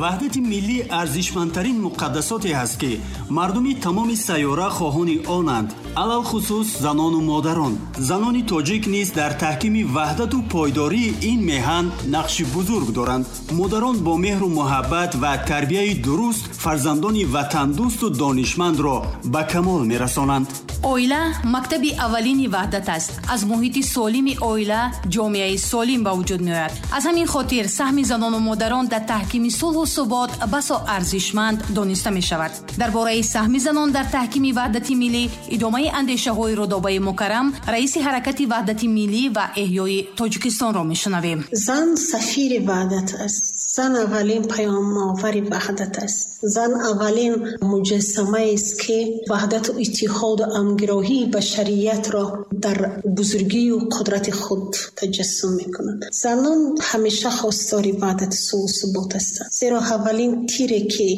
Ваҳдати миллӣ арзишмандтарин муқаддасоте ҳаст, ки мардуми тамоми сайёра хоҳони онанд, алалхусус занону модарон. Занони тоҷик низ дар таҳкими ваҳдату пойдории ин меҳан нақши бузург доранд. Модарон бо меҳру муҳаббат ва тарбияи дуруст фарзандони ватандӯсту донишмандро ба камол мерасонанд. Оила мактаби аввалини ваҳдат аст. Аз муҳити солими оила ҷомеаи солим ба вуҷуд меояд. Аз ҳамин хотир саҳми занону модарон дар таҳкими сулҳу субот басо арзишманд дониста мешавад. Дар бораи саҳми занон дар таҳкими ваҳдати миллӣ идомаи андешаҳои Рудобаи Мукаррам, раиси ҳаракати ваҳдати миллӣ ва эҳёи Тоҷикистонро мешунавем. Зан сафири ваҳдат аст. Зан аввалин паёмовари ваҳдат аст. Зан аввалин муҷассамаест, ки ваҳдату иттиҳоду ҳамгироҳии башариятро дар бузургию қудрати худ таҷассум мекунад. Занон ҳамеша хостори ваҳдати сулҳу субот ҳастанд, зеро аввалин тире, ки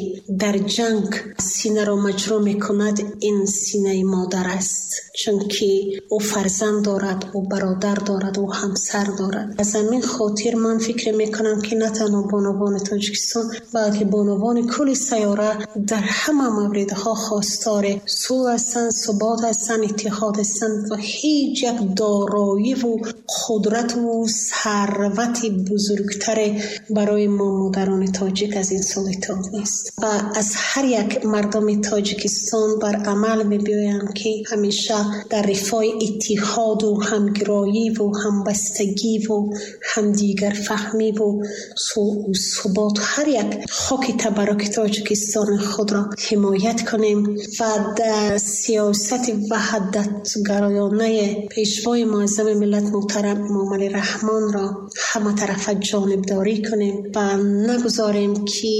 дар ҷанг синаро маҷрӯ мекунад, ин синаи модар аст, чунки ӯ фарзанд дорад, ӯ бародар дорад, ӯ ҳамсар дорад. Аз ҳамин хотир ман фикр мекунам, ки на танҳо бонувони Тоҷикистон, балки бонувони кулли сайёра дар ҳама мавридҳо хостори сулҳ ҳастанд, субот ҳастанд, иттиҳод ҳастанд ва ҳеҷ як дороиву қудрату сарвати бузургтаре барои мо модарони тоҷик аз ин сулҳ иттиҳод нест. Ва аз ҳар як мардуми Тоҷикистон бар амал мебиёям, ки ҳамеша дар рифои иттиҳоду ҳамгироиву ҳамбастагиву ҳамдигарфаҳмиву сулҳу субот ҳар як хоки табарруки Тоҷикистони худро ҳимоят кунем ва дар сиёсати ваҳдатгароёнаи пешвои муаззами миллат муҳтарам Эмомалӣ Раҳмонро ҳаматарафа ҷонибдорӣ кунем ва нагузорем, ки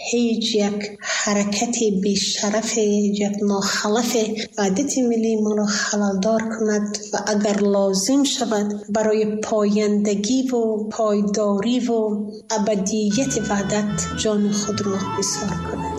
ҳеҷ як ҳаракати бешарафе, ҳеҷ як нохалафе ваҳдати миллии моро халалдор кунад ва агар лозим шавад барои пояндагиву пойдориву абадияти ваҳдат ҷони худро нисор кунад.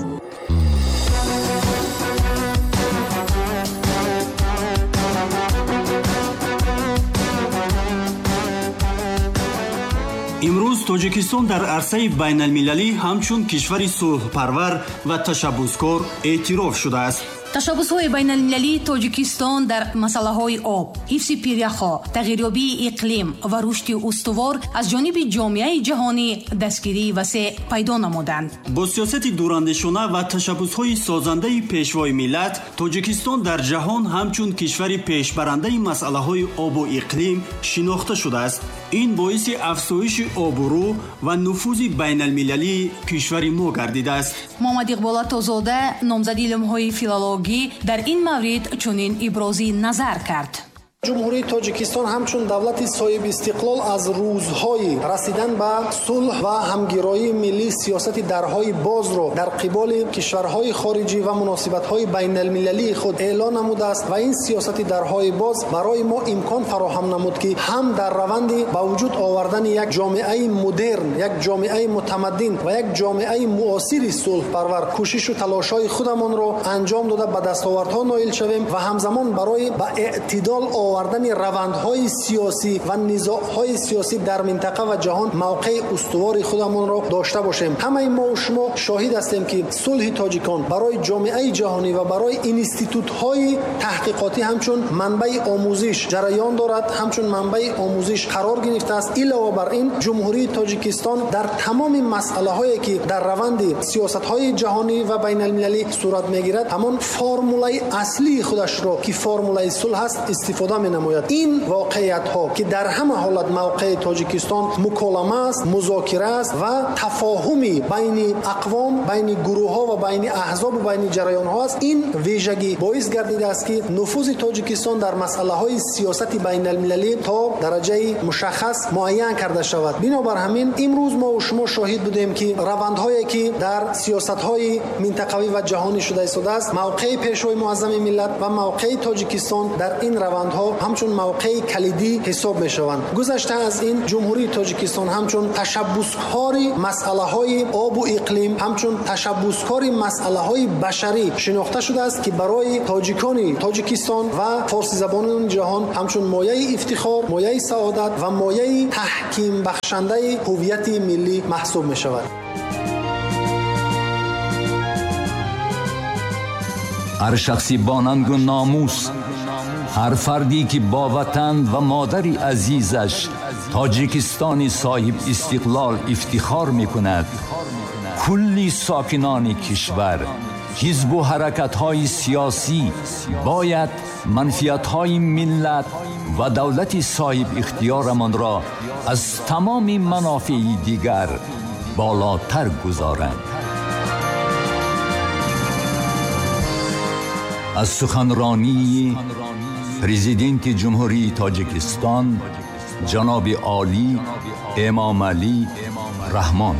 Имрӯз Тоҷикистон дар арсаи байналмилалӣ ҳамчун кишвари сулҳпарвар ва ташаббускор эътироф шудааст. Ташаббусҳои байналмилалии Тоҷикистон дар масъалаҳои об, ҳифзи пиряхҳо, тағйирёбии иқлим ва рушди устувор аз ҷониби ҷомеаи ҷаҳонӣ дастгирии васеъ пайдо намуданд. Бо сиёсати дурандешона ва ташаббусҳои созандаи пешвои миллат, Тоҷикистон дар ҷаҳон ҳамчун кишвари пешбарандаи масъалаҳои обу иқлим шинохта шудааст. Ин боиси афзоиши обрӯ ва нуфузи байналмилалии кишвари мо гардидааст. Муҳаммад Иқбол Атозода, номзади илмҳои филологӣ, дар ин маврид чунин ибрози назар кард. Ҷумҳурии Тоҷикистон ҳамчун давлати соҳибистиқлол аз рӯзҳои расидан ба сулҳ ва ҳамгироии миллӣ сиёсати дарҳои бозро дар қиболи кишварҳои хориҷӣ ва муносибатҳои байналмилалии худ эълон намудааст ва ин сиёсати дарҳои боз барои мо имкон фароҳам намуд, ки ҳам дар раванди ба вуҷуд овардани як ҷомеаи модерн, як ҷомеаи мутамаддин ва як ҷомеаи муосири сулҳпарвар кӯшишу талошҳои худамонро анҷом дода ба дастовардҳо ноил шавем ва ҳамзамон барои ба эътидол овардани равандҳои сиёсӣ ва низоъҳои сиёсӣ дар минтақа ва ҷаҳон мавқеи устувори худамонро дошта бошем. Ҳамаи мо шумо шоҳид ҳастем, ки сулҳи тоҷикон барои ҷомеаи ҷаҳонӣ ва барои институтҳои таҳқиқотӣ ҳамчун манбаи омӯзиш ҷараён дорад, ҳамчун манбаи омӯзиш қарор гирифтааст. Илова бар ин, Ҷумҳурии Тоҷикистон дар тамоми масъалаҳое, ки дар раванди сиёсатҳои ҷаҳонӣ ва байналмилалӣ сурат мегирад, ҳамон формулаи аслии худашро, ки формулаи сулҳ аст, истифода менамояд. Ин воқеиятҳо, ки дар ҳама ҳолат мавқеи Тоҷикистон муколама аст, музокира аст ва тафоҳуми байни ақвом, байни гурӯҳҳо ва байни аҳзоб ва байни ҷараёнҳо аст, ин вижагӣ боис гардидааст, ки нуфузи Тоҷикистон дар масъалаҳои сиёсати байналмилалӣ то дараҷаи мушаххас муайян карда шавад. Бинобар ҳамин имрӯз мо шумо шоҳид будем, ки равандҳое, ки дар сиёсатҳои минтақавӣ ва ҷаҳонӣ шуда истодааст, мавқеи пешвои муаззами миллат ва мавқеи Тоҷикистон дар ин равандҳо ҳамчун мавқеи калидӣ ҳисоб мешаванд. Гузашта аз ин, Ҷумҳурии Тоҷикистон ҳамчун ташаббускори масъалаҳои обу иқлим, ҳамчун ташаббускори масъалаҳои башарӣ шинохта шудааст, ки барои тоҷикони Тоҷикистон ва форсизабонони ҷаҳон ҳамчун мояи ифтихор, мояи саодат ва мояи таҳкимбахшандаи ҳувияти миллӣ маҳсуб мешавад. Ҳар шахси бо нангу номус, ҳар фарде ки бо ватан ва модари азизаш Тоҷикистони соҳиб истиқлол ифтихор мекунад, кулли сокинони кишвар, ҳизбу ҳаракатҳои сиёсӣ бояд манфиатҳои миллат ва давлати соҳибихтиёрамонро аз тамоми манофеи дигар болотар гузоранд. Аз суханронии Президенти Ҷумҳурии Тоҷикистон ҷаноби олӣ Эмомалӣ Раҳмон.